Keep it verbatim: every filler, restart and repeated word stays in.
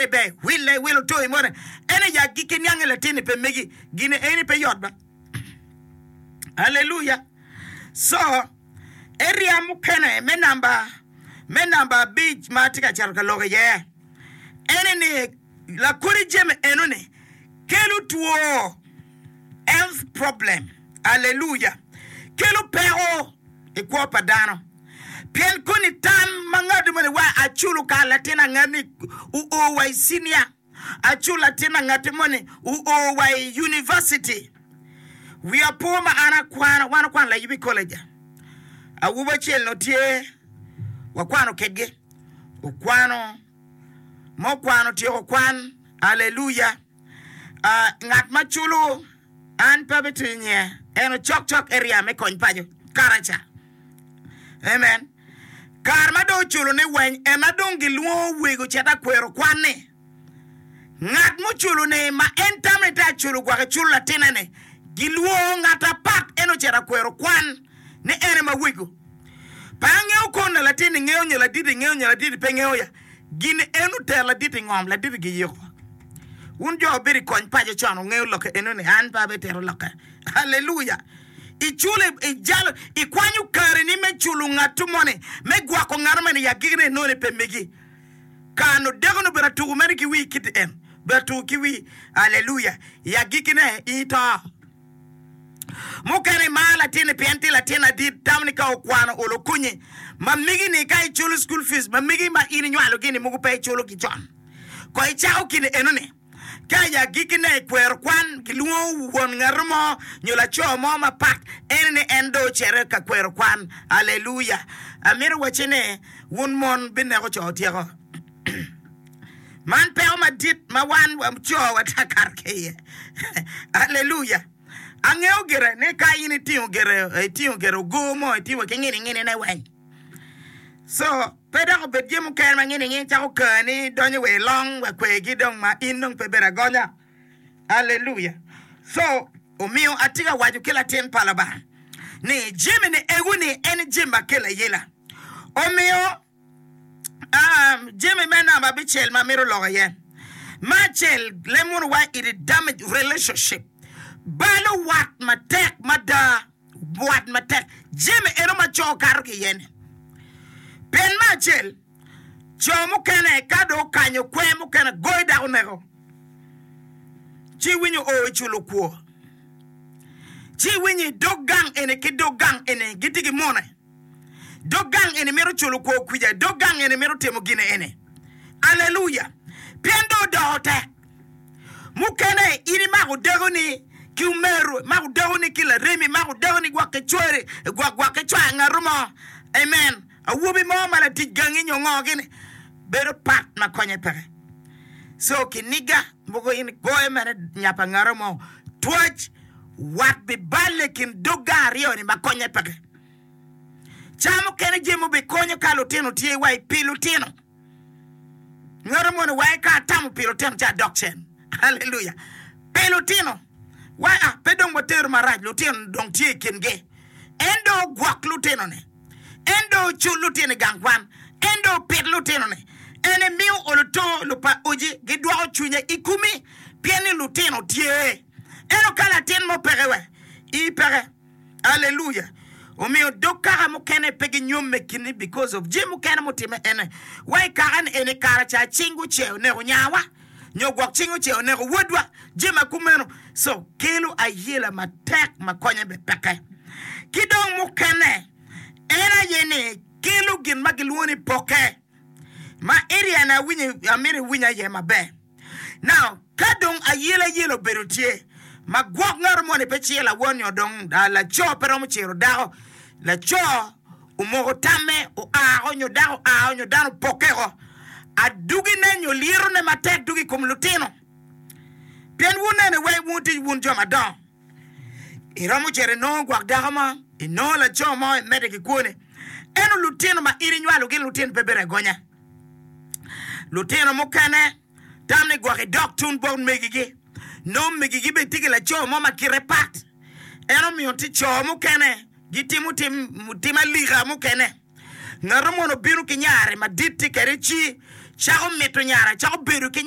ni ber wille wilo toyi moni en aye agikki niange latinni pe megi gine eni pe yot ba. Aleluya! So, area mukene me namba me namba abic ma atye ka cito ka lok iye ene ni lakodi jami enoni kelo two, health problem. Aleluya! Kelo peko i kwo pa dano. Pien koni tam ma ngat moni wa aculo kar latin angat-ni oo wa i cinia, aculo latin angatti moni oo wa i univaciti. Wiya po ma an akwano, wan okwano layub i koleja. Awobi acel onongo tye, wakwano kedgi, okwano ma okwano otyeko kwan, aleluya. Ah, ngat ma culo an pe abitiyo nyinge, en ocok cok area me kony paco karaca. Amen. Kare ma dong oculo ni weny, en na dong gilwongo wego cet akwero kwan ni. Ngat muculo ni ma en tamo ni te aculo gwok eculo latinne ni, gilwongo ngat apat en ocito akwero kwan ni en ema wego. Pe angeyo kono latinni ngeyo nyo laditi ngeyo nyo laditi pe ngeyo ya. Gin en otero laditi ngom, laditi giyiko. Wun jo wubedo i kony paco con wungeyo lokke eno ni an pe abitito lokke. Aleluya! Iculo, ijalo, ikwanyo kareni me culo ngattu moni, me gwoko ngat moni i agikine inongo ni pe megi. Kano deko-ni obedo atuku mere ki wii kiti en, obedo atuku ki wii. Aleluya! I agikine in ito. Mukene imaro latinni pien tye latin adit, tamo ni ka okwano olo okonyi. Ma megi-ni ka iculo school fees, ma megi ma in inywalogi-ni mogo pe iculogi con. Ko icako kine enoni, ka i agikkine i kwero kwan gilwongo won ngato mo nyo laco mo mapat, ene ni en dong ocito ka kwero kwan. Aleluya! Amito wacci ni wun mon bineko co otyeko. Man peko madit ma wan co watye ka kato ki iye. Aleluya! Angeyo gire ni ka in itingo gire, itingo gire ogo mo, itingo ki ngini nginine weng. So, pe dok obed jami mukene ma ngini ngini cako kani donyo wa i long wa kwegi dong ma in dong pe bedo agonya. Aleluya! So, omiyo atye ka waco ki latin pa Lubanga ni jami ni ego ni en jami ma kelo ayela. Omiyo um, jami me namba abicel ma amito loko iye. Me acel, lem wunu wa it damage relationship. Balo wat matek mada. Wat matek jami eno ma co kato ki iye-ni. Pien me acel, co mukene ka dong okanyo kwer mukene goyo dako neko, ci iwinyo o i culo kwo, ci iwinyo i dog gang eni ki dog gang eni gitye ki mone. Dog gang eni mito culo kwo kwica, dog gang eni mito timo gin eni. Aleluya! Pien dong odoko tek. Mukene in imako dakoni ki omeru, imako dakoni ki laremi, imako dakoni gwok ki cwari, gwok gwok ki cwar ngatu mo. Amen. Awobi mo ma latic gangi nyo ngo gini bedo pat ma konye peke. So kiniga mogo in igoyo mere nya pa ngatu mo twac wat biballe i kin dog gang aryo ni ma konye peke. Ca mukene jami obikonyo ka lutino tye wa i pi lutino. Ngat moni wai ka atamo pi lutino ci adok cen. Aleluya! Pi lutino, wai a pe dong watero marac, lutino dong tye i kingi. En dong ogwok lutinone. En dong ocul lutino i gang kwan. En dong opit lutinone. En emiyo oluto lupa oji gidwoko cwinye i komi pien ni lutino tye. Ento ka latin mo peke we, ii peke. Aleluya! Omiyo dog kaka mukene pe ginyomme kini because of jami mukene mutime ene. Wa i kaka ni eni kara ca cing guce oneko nyawa nyo gwok cing oce oneko wodwa, jami ma kumeno. So kelo ayela matek ma konye be peke. Ki dong mukene en aye ni kelo gin ma gilwongo ni poke ma area ni awinyo amito iwinya iye maber. Now, ka dong ayelayela obedo tye, ma gwok ngat moni pe ciro lawon nyo dong laco pe romo ciro dako, laco omoko tamme oa nyo dako oa nyo dano opokke oko, adugine nyo lyetone matek dugo i kom lutino. Pien wunene weng wun tye wun jo madongo, iromo cito inongo gwok dako mo, inongo laco mo imedde ki kwone, ento lutino ma in inywalo gin lutino pe bedo agonya. Lutino mukene tam ni gwok idok tun bot megigi. Nongo megigi bene tye ki laco mo ma kite pat. En omiyo tye co mukene gitimo tim, tim alika mukene. Ngat mono obino ki nyare madit tye kwede ci cako mito nyare, cako bedo ki nyare.